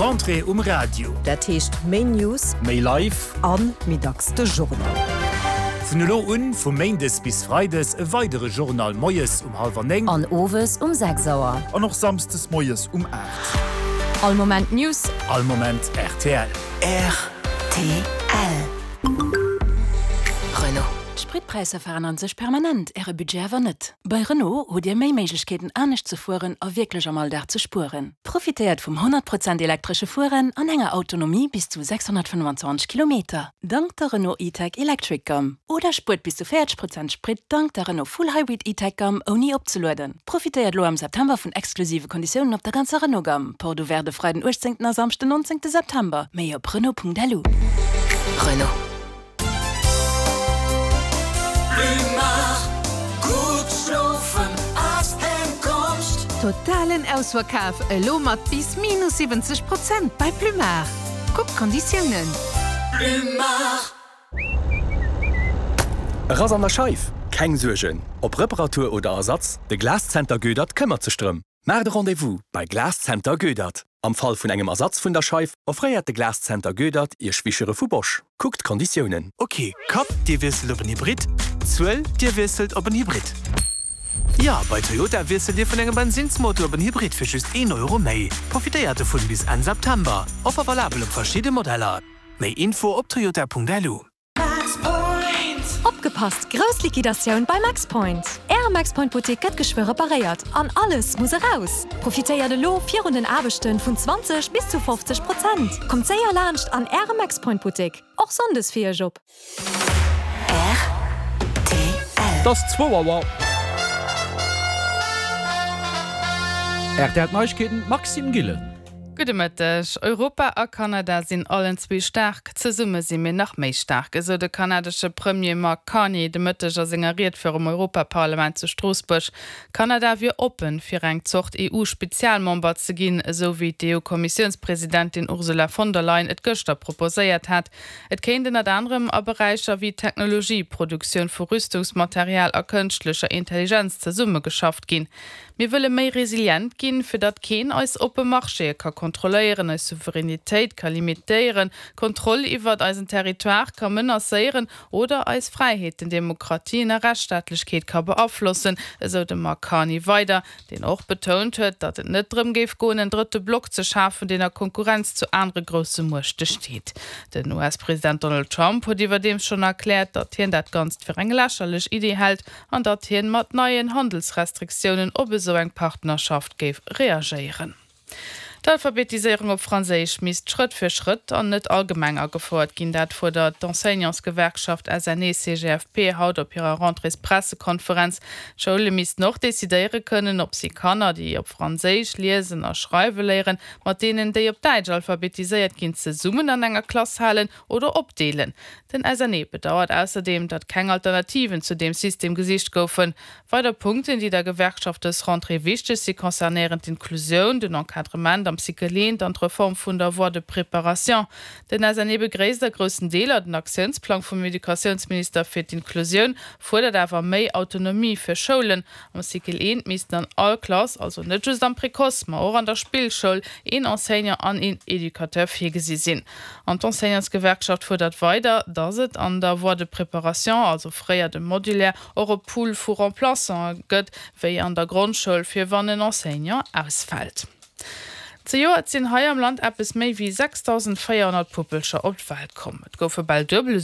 Rentrée um Radio. Dat heescht méi News. Méi live. A méi dacks de Journal. Vun elo un, vu méindes bis freides, e weidere Journal moies um hallwer 9. An owes um 6 Auer. An och samsdes moies um 8. All Moment News. All Moment rtl. Rtl. Renault. D'Spritpräisser veränneren sech permanent, Äre Budget awer net. Bei Renault hutt Dir méi Méiglechkeeten anescht ze fueren a wierklech am Alldag ze spueren. Profitéiert vum 100 Prozent elektresche Fueren an enger Autonomie bis zu 625 Kilometer, dank der Renault E-Tech Electric Gamme. Oder spuert bis zu 40 Prozent Sprit dank der Renault Full Hybrid E-Tech Gamme ouni opzelueden. Profitéiert elo am September vun exklusive Konditiounen op der ganzer Renault Gamme. Porte ouverte e Freiden 18 a Samschden 19 September. Méi op Renault.lu. Renault. Totalen Ausverkaf elo mat bis minus 70 Prozent bei Plumard. Kuck d'Konditiounen. E Rass an der Scheif? Keng Suergen, ob Reparatur oder Ersatz, de Glascenter Goedert këmmert sech drëm. Maacht e Rendez-vous bei Glascenter Goedert. Am Fall vun engem Ersatz vun der Scheif offréiert de Glascenter Goedert Iech Wischere vu Bosch. Kuckt d'Konditiounen. Ok, Kapp, Dir wiesselt op en Hybrid, Zuel, Dir wiesselt op en Hybrid. Jo, bei Toyota wiesselt Dir vun engem Bensinnsmotor op en Hybrid fir just een Euro méi. Profitéiert dovun bis Enn September. Offer valabel op verschidde Modeller. Méi Info op toyota.lu. Opgepasst! Grouss Liquidatioun bei Maxpoint! Äre Maxpoint Buttek gëtt geschwë reparéiert an alles muss eraus! Profitéiert elo virun den Aarbechten vun 20 bis zu 50 Prozent! Kommt séier laanscht an Äre Maxpoint Buttek, och Sonndes fir Iech op! Et ass zwou Auer. Rtl Neiegkeeten, Maxime Gillen. Gudde Mëtteg. Europa a Kanada sinn allen zwee staark. Zesumme si mir nach méi staark, esou de kanadesche Premier Mark Carney de Mëtteg a senger Ried virum Europaparlament zu Stroossbuerg. Kanada wier oppen, fir eng Zort EU-Spezialmember ze ginn, esou wéi d'EU-Kommissiounspresidentin Ursula von der Leyen et gëschter proposéiert hat. Et kéint ënnert anerem a Beräicher wéi Technologie, Produktioun vu Rüstungsmaterial a kënschtlecher Intelligenz zesummegeschafft ginn. Mir wëlle méi resilient ginn, fir datt keen eis oppe Marchéë ka kontrolléieren, eis Souveränitéit ka limitéieren, d'Kontroll iwwert eisen Territoire ka menacéieren oder eis Fräiheeten, Demokratien a Rechtsstaatlechkeet ka beaflossen, esou de Mark Carney weider, deen och betount huet, datt et net drëm géif goen, en drëtte Block ze schafen, deen a Konkurrenz zu anere grousse Muechte steet. Den US-President Donald Trump huet iwwerdeems schonn erkläert, datt hien dat Ganzt fir eng lächerlech Iddi hält an datt hien mat neien Handelsrestriktiounen op esou eng Partnerschaft géif reagéieren. D'Alphabetiséierung op Franséisch misst Schrëtt fir Schrëtt an net allgemeng agefouert ginn. Dat fuerdert d'Enseignantsgewerkschaft SNE-CGFP haut op hirer Rentréespressekonferenz. D'Schoule missten och decidéiere kënnen, ob si Kanner, déi op Franséisch liesen a schreiwe léieren, mat deenen, déi op Däitsch alphabetiséiert ginn, zesummen an enger Klass halen oder opdeelen. Den SNE bedauert ausserdeem, datt keng Alternativen zu deem System gesicht goufen. Weider Punkten, déi der Gewerkschaft dës Rentrée wichteg si, concernéieren d'Inklusioun, den Encadrement am Cycle eent an d'Reform vun der Voie de préparation. Den SNE begréisst a groussen Deeler den Aktiounsplang vum Educatiounsminister fir d'Inklusioun, fuerdert awer méi Autonomie fir Schoulen. Am Cycle eent missten an all Klass, also net just am Précoce, ma och an der Spillschoul, een Enseignant an een Educateur virgesi sinn. An d'Enseignantsgewerkschaft fuerdert weider, datt et an der Voie de préparation, also fréier dem Modulaire, och e Pool vu Remplaçanten gëtt, wéi an der Grondschoul, fir wann en Enseignant ausfält. Zejoert sinn hei am Land eppes méi wéi 6.400 Puppelcher op d'Welt komm. Et goufe bal duebel esou.